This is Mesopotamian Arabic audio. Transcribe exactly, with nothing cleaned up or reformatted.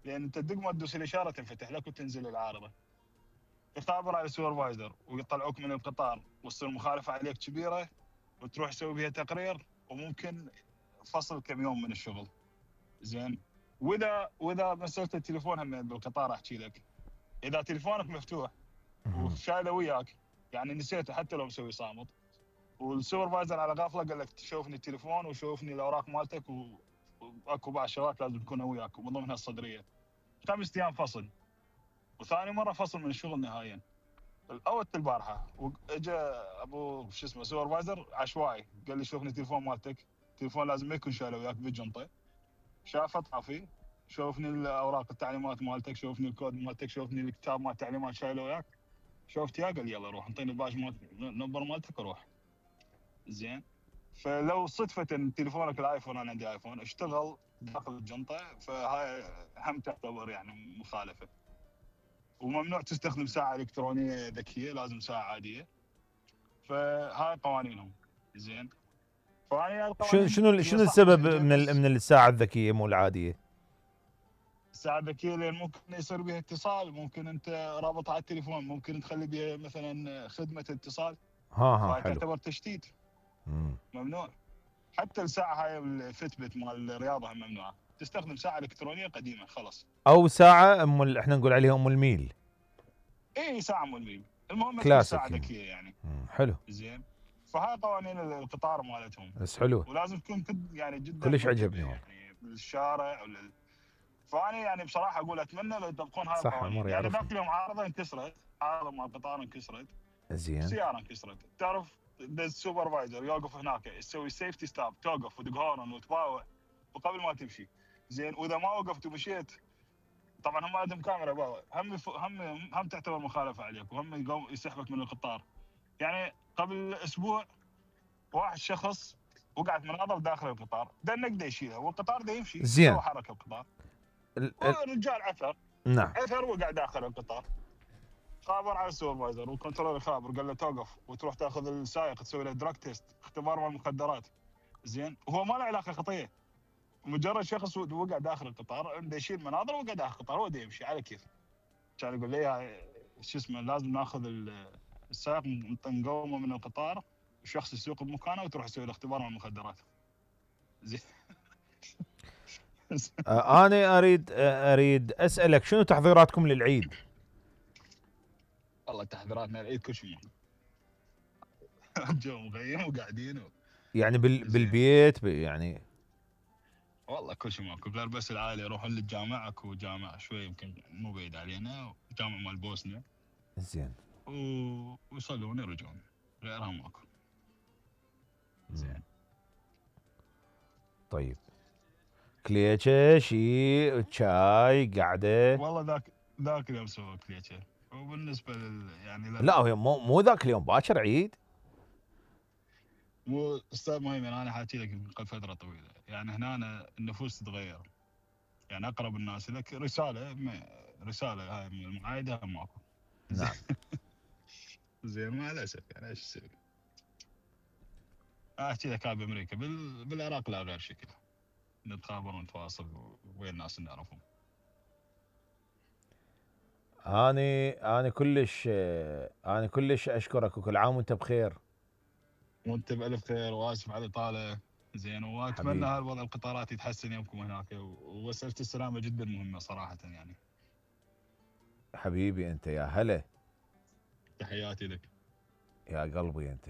لان انت دق ما تدوس الاشاره تنفتح لك وتنزل العارضه. يخابر على السوبرفايزر ويطلعوك من القطار وتصير مخالفه عليك كبيره وتروح تسوي بها تقرير وممكن فصل كم يوم من الشغل. زين. واذا واذا مسألة التليفون هم بالقطار احكي لك، اذا تليفونك مفتوح وشايله وياك يعني نسيته حتى لو مسوي صامت، والسوبرفايزر على غفله قال لك شوفني التليفون وشوفني الاوراق مالتك واكو بعض الشغلات لازم تكونها وياك ومن ضمنها الصدريه، خمس ايام فصل. وثاني مره فصل من الشغل نهائيا. الاول البارحه اجى ابو شو اسمه سوبرفايزر عشوائي قال لي شوفني التليفون مالتك، التليفون لازم ما يكون شايله وياك بالجنطه. شافه طافي، شوفني الاوراق التعليمات مالتك، شوفني الكود مالتك، شوفني الكتاب مال التعليمات شايله وياك. شفت يا قال يلا روح انطيني الباج مال النمبر مالتك وروح. زين. فلو صدفه ان تليفونك الايفون، انا عندي ايفون، اشتغل داخل الجنطه، فهاي هم تعتبر يعني مخالفه. وممنوع تستخدم ساعه الكترونيه ذكيه، لازم ساعه عاديه. فهاي قوانينهم. زين. فهاي شنو شنو شنو السبب من من الساعه الذكيه مو العاديه؟ الساعه الذكيه لان ممكن يصير بها اتصال، ممكن انت رابط على التليفون، ممكن تخلي بها مثلا خدمه اتصال. ها ها فهاي حلو. تعتبر تشتيت. مم. ممنوع. حتى الساعه هاي الفتبت مال الرياضه هم ممنوعه، تستخدم ساعه الكترونيه قديمه خلاص. او ساعه ام ال... احنا نقول عليها ام الميل. اي ساعه ام الميل، المهم ما تكون كلاسيك ساعه يعني. ذكيه يعني. مم. حلو. زين. فهاي قوانين القطار مالتهم. بس حلو. ولازم تكون يعني جدا كلش منتبه عجبني والله. يعني بالشارع ولل... فانا يعني بصراحه اقول اتمنى لو يطبقون هاي صح القوانين. عمر يعني يعرفني. ذاك اليوم عارضه انكسرت، عارضه مال القطار انكسرت، زين. سياره انكسرت، تعرف السوبرفايزر يوقف هناك يسوي سيفتي ستوب، توقف ودق هورن وتباوع وقبل ما تمشي. زين. واذا ما وقفت ومشيت، طبعا هم عندهم كاميرا باوع، هم هم هم تعتبر مخالفه عليك وهم يقوم يسحبك من القطار. يعني قبل اسبوع واحد شخص وقعت مناظر داخل القطار، دنك دا يشيله والقطار دا يمشي، زين. سوى حركه القطار. ال... والرجال عثر. نعم. عثر وقع داخل القطار. خابر على السوبرفايزر والكنترول خابر قال له توقف وتروح تاخذ السائق تسوي له دراج تيست، اختبار مال المخدرات. زين. وهو ما له علاقه خطيه، مجرد شخص وقع داخل القطار بده يشيل مناظر وقع داخل القطار، هو يمشي على كيف. كان يقول لي شو اسمه لازم ناخذ السائق نقومه من القطار، الشخص يسوق بمكانه وتروح تسوي له اختبار مال المخدرات. زين. انا اريد اريد اسالك شنو تحضيراتكم للعيد؟ والله تحضيراتنا للعيد كل شيء جو مغيم وقاعدين و... يعني بال... بالبيت يعني. والله كل شيء ماكو غير بس العائله يروحون للجامع، اكو جامع شوي يمكن مو بعيد علينا، جامع مال بوسنيا. زين. و... ويصلون يرجعون، غيرها ماكو. زين. طيب كليتشه شي شاي قعده؟ والله ذاك ذاك اليوم سوى كليتشه. وبالنسبه لل يعني لا هو مو مو ذاك اليوم باكر عيد. مو استاذ مهيمن، انا حاكي لك من قبل فتره طويله، يعني هنا النفوس تتغير. يعني اقرب الناس لك رساله رساله هاي من المعايده ماكو. نعم. زين. مع الاسف يعني ايش اسوي؟ احكي لك هاي بامريكا، بال... بالعراق لا غير شكل، نتخابر ونتواصل وين الناس اللي نعرفهم. اني انا كلش انا كلش اشكرك وكل عام وانت بخير. وانت بالف خير واسف على الاطاله. زين. واتمنى هالوضع القطارات يتحسن يومكم هناك، ومساله السلامه جدا مهمه صراحه يعني. حبيبي انت يا هلا. تحياتي لك يا قلبي انت.